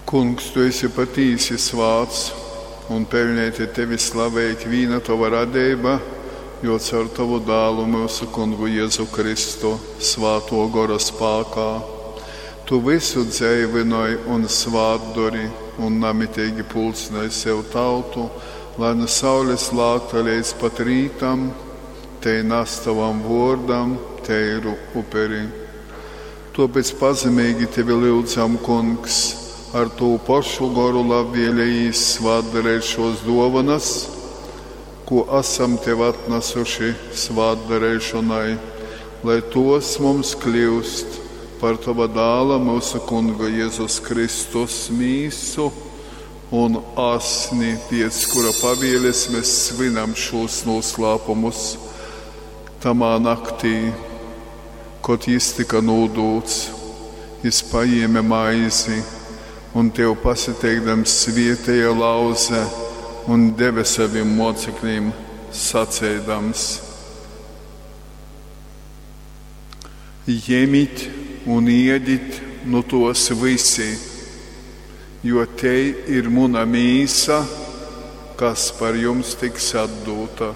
Kungs, tu esi patīsi svāts, un peļneiti tevi slavej ikvīna tova radeiba, jo caur tovu Dālu, myusu Kungu Jezu Kristu, Svātō Gora spākā, tu vysu dzeivynoj un svātdori un namiteigi pulcynoj sev tautu, lai nu saules lākta leidz pat rītam tei nas tovam vōrdam teiru uperi. Tōpēc pazemeigi tevi lyudzam, Kungs, ar tū pošu Goru labvēlejīs svātdareit šōs dōvonas, kū asam tev atnasuši svātdareišonai, lai tōs mums kļyust par tova Dāla, myusu Kunga Jezus Kristus mīsu un asni, pēc kura pavēles mēs svinam šūs noslēpumus. Tamā naktī, kod jis tika nūdūts, jis pajēme maizi un tev pasateikdams svietēja lauze un deve savim mocekļiem, saceidams: Jemit un iedit nu tos visi, jo tei ir muna mīsa, kas par jums tiks atdūta.